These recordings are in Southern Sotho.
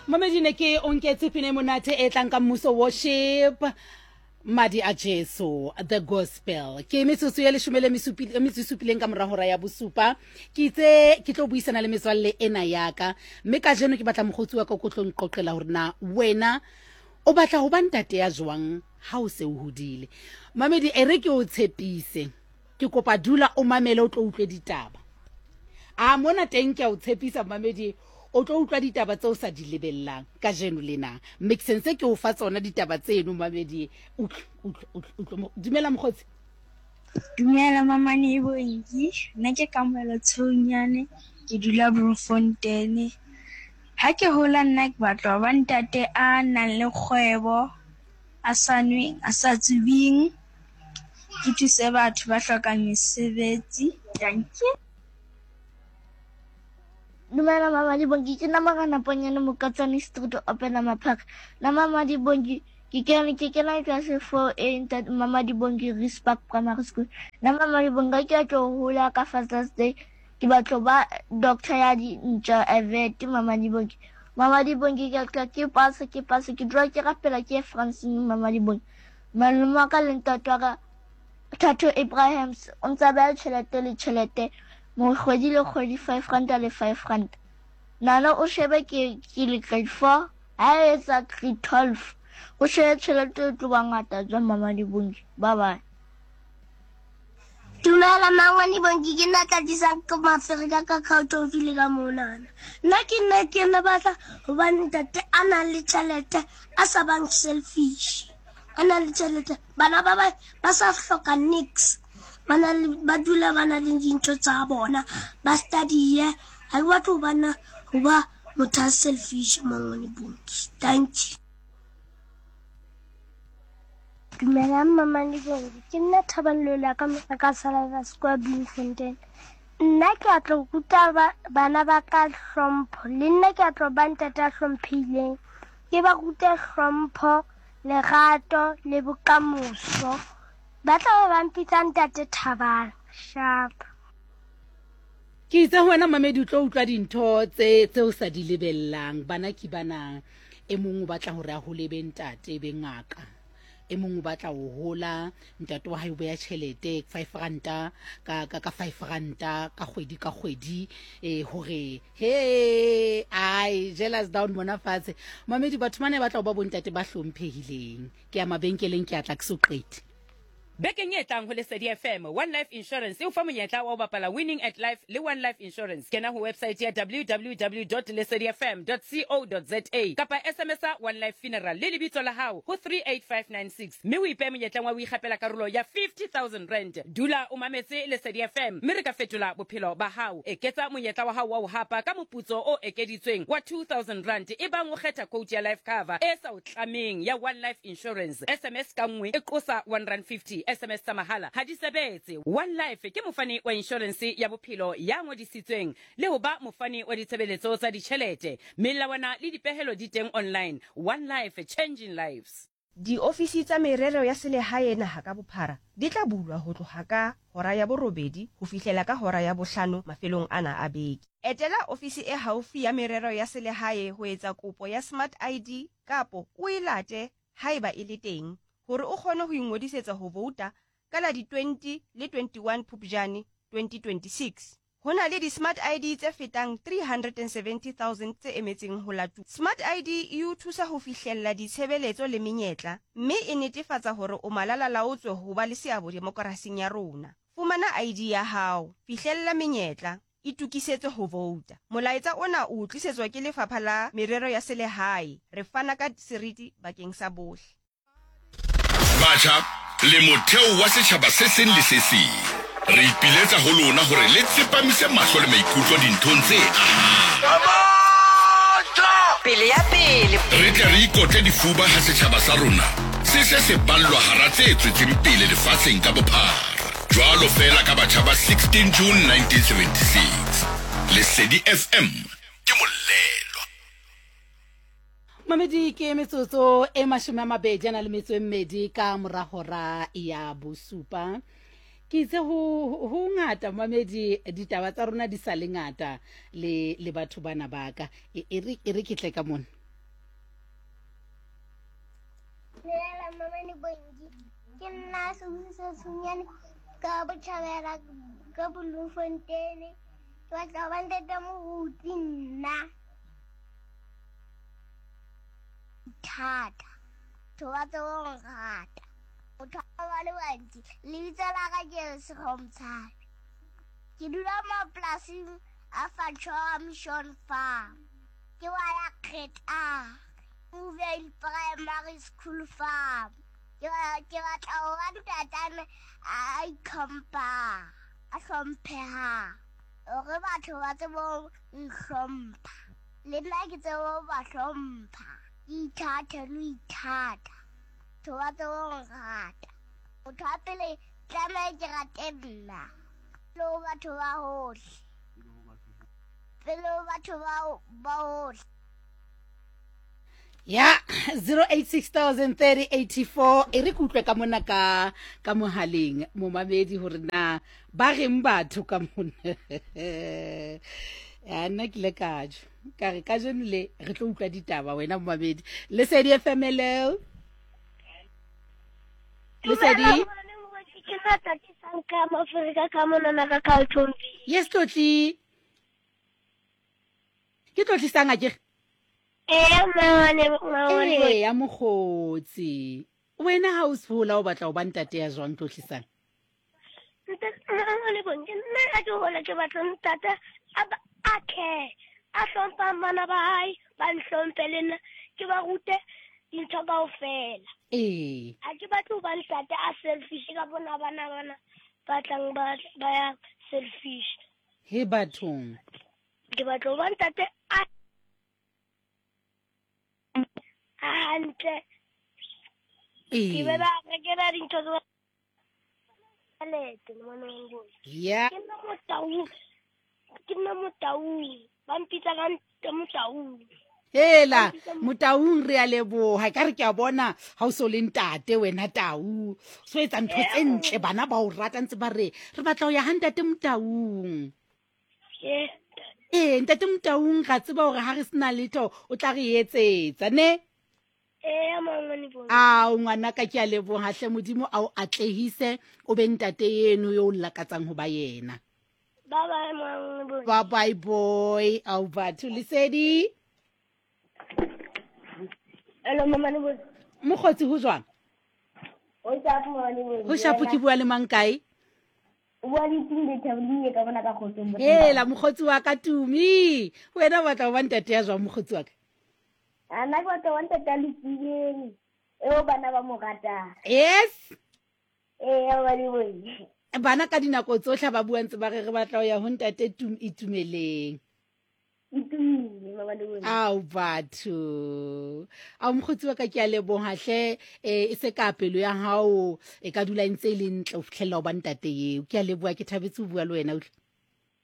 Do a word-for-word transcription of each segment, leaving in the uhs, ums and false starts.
Mamedi, ne ke o nketse pina e monate e tlang ka Mmuso Worship, Madi a Jesu the Gospel. Ke metsotso ya leshome le metso e supileng ka mora hora ya bosupa. Ke itse ke tlo buisana le metswalle ena yaka, mme kajeno ke batla mokgotsi wa ka ko tlo nqoqela hore na wena o batla ho ba ntate ya jwang ha o se o hodile. Mamedi, e re ke o tshepise, ke kopa dula o mamele, o tlo utlwe ditaba. A mona teng ke a o tshepisa, mamedi, o tlo utlwa ditaba tseo sa di lebellang kajeno lena, mme ke sentse ke o fa tsona ditaba tseno. Mamedi, utlwe, utlwe, utlwe, utlwe. Dumela, mokgotsi. Dumela, Mamane Bonki. Nna ke Kamohelo Tsheonyane, ke dula Bloemfontein. Ha ke hola, nna ke batla ho ba ntate a nang le kgwebo, a sa nweng, a sa tsubing. Ke thuse batho ba hlokang mesebetsi. Dankie. Dumela, Mama Dibonki, ke nna Morena Ponyane Mokatsane Street, Opela Maphaka. Nna, Mama Dibonki, ke kena ke kena class four A, ntate Mama Dibonki, Rispark Primary School. Nna, Mama Dibonki, ke tlo hola ka Father's Day, ke batla ba doctor ya dintja, a vet, Mama Dibonki. Mama Dibonki, ke tla ke pasa, ke pasa, ke dula ke rapela ke Francine, Mama Dibonki. Malome wa ka le ntate wa ka, Thato Abrahams, o ntsa beha tjhelete le tjhelete mo kgwedi le kgwedi, five ranta le five ranta. Nana o shebe, ke ke le grade four, ha e etsa grade twelve, o shebe tjhelete e tlo ba ngata jwang, Mama Dibonki. Bye bye. Dumela, Mangwane Bonki, ke nna Tlatisang ke Maferika ka Cowtonville ka monana. Nna ke nna ke nna batla ho ba ntate a nang le tjhelete, a sa bang selfish. A nang le tjhelete, bana ba ba ba sa hloka nix. Ba na le, ba dula ba na le dintho tsa bona, ba study. Ha ke batle ho bana ho ba motho a selfish, Mangwane Bonki. Thank you. Dumelang, Mama Lebongi. Ke nna Thabang Lola ka mona ka Salada Square, Bloemfontein. Nna ke a tlo ruta bana ba ka hlompho. Le nna ke a tlo ba ntate a hlomphehileng. Ke ba rute hlompho, lerato le bokamoso. Ba tla be ba mpitsa Ntate Thabang. Sharp. Ke itse ho wena, mamedi, o tlo utlwa dintho tse tse o sa di lebellang. Bana ke bana, e mong o batla hore a hole be ntate, be ngaka. E mong o batla ho hola ntate wa hae o beha tjhelete five ranta ka ka ka five ranta ka kgwedi ka kgwedi, eh hore he ai jealous down mona fatshe. Mamedi, batho bana ba batla ho ba bontate ba hlomphehileng. Ke ya mabenkeleng, ke a tla ke so qete. Bekeng e tlang ho Lesedi F M, One Life Insurance e o fa monyetla wa ho bapala Winning at Life le One Life Insurance. Kena ho website ya W W W dot lesedifm dot co dot za kapa S M S One Life Funeral le lebitso la hao ho three eight five nine six, mme o ipehe monyetleng wa ho ikgapela karolo ya fifty thousand rand. Dula o mametse Lesedi F M, mme re ka fetola bophelo ba hao. Eketsa monyetla wa hao wa ho hapa ka moputso o ekeditsweng wa two thousand rand ebang o kgetha quote ya life cover e sa o tlameng ya One Life Insurance. S M S ka nngwe e qosa one rand fifty. S M S tsa mahala ha di sebetse. One Life ke mofani wa insurance ya bophelo ya ngodisitsweng le ho ba mofani wa ditshebeletso tsa ditjhelete. Melawana le dipehelo di teng online. One Life, changing lives. Diofisi tsa merero ya selehae naha ka bophara di tla bulwa ho tloha ka hora ya borobedi ho fihlela ka hora ya bohlano mafelong ana a beke. Etela ofisi e haufi ya merero ya selehae ho etsa kopo ya Smart I D kapo o e late haeba e le teng, hore o kgone ho ingodisetsa ho vouta ka la di twenty le twenty-one Phupjane twenty twenty-six. Ho na le di-Smart I D tse fetang three hundred seventy thousand tse emetseng ho latuwa. Smart I D e o thusa ho fihlella ditshebeletso le menyetla, mme e netefatsa hore o malalalaotswe ho ba le seabo demokerasing ya rona. Fumana I D ya hao, fihlella menyetla, itokisetse ho vouta. Molaetsa ona o tlisetswa ke Lefapha la Merero ya Selehae. Re fana ka seriti bakeng sa bohle. Batjha le motheo wa setjhaba se seng le se seng, re ipiletsa ho lona hore le tsepamise mahlo le maikutlo dinthong tse ahang. Pele ya pele. Re tle re ikotle difuba ha setjhaba sa rona se se se ballwa hara tse tswetseng pele lefatsheng ka bophara, jwalo feela ka batjha ba sixteen June nineteen seventy-six. Lesedi F M ke molelwa. Mamedi, ke metsotso e mashome a mabedi a na le metso e mmedi ka mora hora ya bosupa. Ke itse ho ho ngata, mamedi, ditaba tsa rona di sa le ngata le le batho bana ba ka. E e re e re ke tle ka mona. Dumela Mamane Bongi. Ke nna Sibusiso Tshunyane ka Botjhabela ka Bloemfontein. Ke batla ho ba ntate moruti nna. Thata. Batho ba tsebe ho nrata. Motho ba le bantsi. Lebitso la ka ke Lesego Mtshabe. Ke dula mapolasing a Fachoa Mission Farm. Ke wa ya Kgetang. Movie Primary School Farm. Ke ke batla ho ba ntatana a itlhomphang, a hlomphehang. Hore batho ba tsebe ho nhlompha. Le nna ke tsebe ho ba hlompha. Ke ithathe le ho ithata. Batho ba tsebe ho nrata. Motho wa pele tlameha ke rate nna. Pele ho batho ba hohle. Pele ho batho ba ba hohle. Ya zero eight six thousand thirty eighty four e re kutlwe ka mona ka ka mohaleng momamedi hore na ba reng batho ka mona. Ya nna ke le kajo ka re kajeno le re tlo utlwa ditaba wena momamedi. Lesedi F M L. Lesedi Ke sa tatisang ka Afrika ka mona na ka Carltonville. Yes Tlotli. Ke Tlotlisang akere? Eh mane mane. Eh ya mokgotsi. Wena ha o se hola o batla ho ba ntate ya jwang Tlotlisang? Ntate mane bonke nna ha ke hola ke batla ntate a a care. A hlompha bana ba hae, ba nhlomphe le nna ke ba rute dintho kaofela. Eh. Ha ke batle ho ba ntate a selfish ka bona bana bana ba tlang ba ba ya selfish. He bathong. Ke batla ho ba ntate a hantle. Eh. Ke be ba rekela dintho tsa tjhelete ngwana wa ngwana. Yeah. Ke nna Motaung. Ke nna Motaung. Ba mpitsa ka Motaung. Hela Motaung re a leboha ka re ke a bona ha o so le ntate wena Tau. So etsa ntho tse ntle bana ba o rata ntse ba re re batla ho ya ha ntate Motaung. Eh. Eh ntate Motaung ga tseba hore ha re sena letho o tla re etsetsa ne? Eh mangwane bo. Ao ngwana ka ke a leboha hle Modimo a o atlehise o be ntate yeno yo o lakatsang ho ba yena. Bye bye mangwane bo. Bye bye boy. Au batho Lesedi. Hello mama ne bo. Mokgotsi ho jwang? O shapo mama ne bo. Ho shapo ke bua le mang kae? O bua le Tumi Thabile ka bona ka kgotsong. Hela mokgotsi wa ka Tumi. Wena o batla ho ba ntate ya jwang mokgotsi wa ka? Ana ke batla ho ba ntate a lokileng. Eo bana ba mo ratang. Yes. Eh ba le bo. Bana ka dinako tsohle ba bua ntse ba re re batla ho ya ho ntate Tumi Itumeleng. Itumile mama le wena. Ao batho. Ao mokgotsi wa ka ke a leboha hle e se ka pelo ya hao e ka dula ntse le ntle ho fihlella ho ba ntate eo. Ke a leboha ke thabetse ho bua le wena utlwe.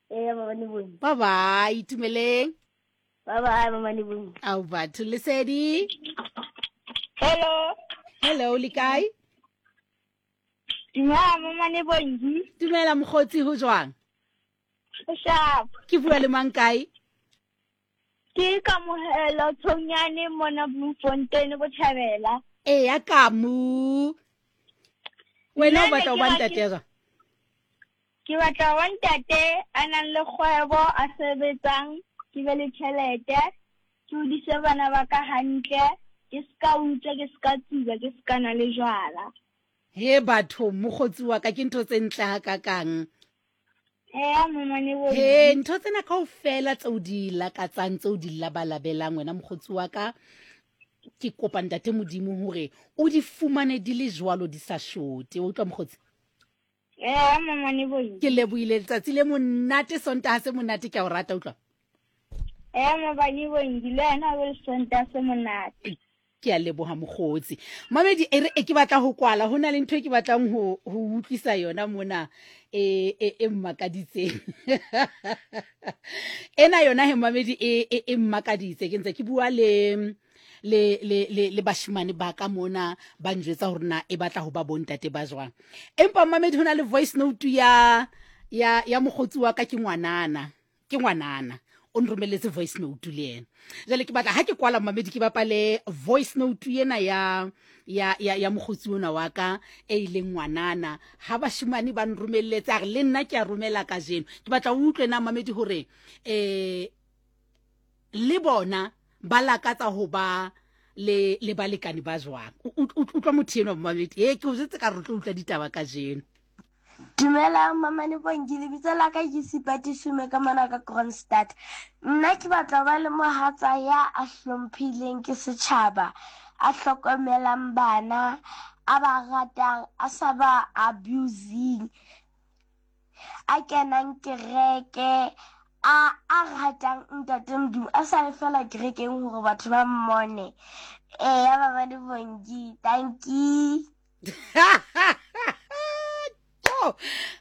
Eh mama le wena. Bye bye Itumeleng. Bye bye mama le wena. Ao batho Lesedi. Hello. Hello le kae? Dumela mama le Bongi. Dumela mokgotsi ho jwang? Ho shapo. Ke bua le mang kae? Ke Kamohelo Thonyane mona Bloemfontein Botjhabela. Eh ya Kamu. Wena o batla ho ba ntate ya jwang? Ke batla ho ba ntate a nang le kgwebo a sebetsang, ke be le tjhelete, ke hodise bana ba ka hantle, ke ska utswa, ke ska tsuba, ke ska nwa le jwala. He batho mokgotsi wa ka ke ntho tse ntle hakakang. Eh He ntho tsena kaofela tseo di lakatsang tseo di labalabelang wena mokgotsi wa ka ke kopa ntate Modimo hore o di fumane di le jwalo di sa shote. O utlwa mokgotsi? Eh mama ne bo. Ke lebohile letsatsi le monate Sontaha se monate ke a o rata utlwa. Eh mama ne bo le wena o le Sontaha se monate. Ke a leboha mokgotsi. Mamedi e re e ke batla ho kwala hona le ntho e ke batlang ho ho utlwisa yona mona e e e mmakaditseng. Ena yona he mamedi e e e mmakaditse ke ntse ke bua le le le le le bashimane ba ka mona ba njwetsa hore na e batla ho ba bontate ba jwang. Empa mamedi hona le voice note ya ya ya mokgotsi wa ka ke ngwanana, ke ngwanana. O nromelletse voice note le yena. Jwale ke batla ha ke kwala, mamedi, ke bapale voice note ena ya ya ya ya mokgotsi ona wa ka e ileng ngwanana. Ha bashimane ba nromelletse, a re le nna ke a romela kajeno. Ke batla o utlwe na, mamedi, hore eh le bona ba lakatsa ho ba le le balekane ba jwang. Utlwa motho enwa, mamedi. E ke o jwetse ka re tlo utlwa ditaba kajeno. Dumelang Mamane Bongi, lebitso la ka ke Sipati Sume ka mona ka Kroonstad. Nna ke batla ho ba le mohatsa ya a hlomphileng ke setjhaba, a hlokomelang bana, a ba ratang, a sa ba abusing, a kenang kereke, a a ratang ntate Modimo, a sa ye fela kerekeng hore batho ba mmone. Eya Mamane Bongi, dankie.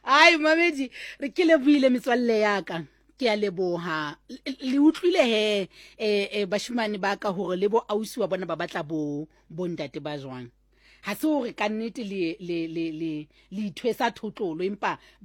Ai mamedi, re ke lebohile metswalle ya ka, ke a leboha. Le utlwile he eh bashimane ba ka hore le bo ausi wa bona ba batla bo bontate ba jwang. Ha se hore ka nnete le le le le le ithwesa thotlolo, empa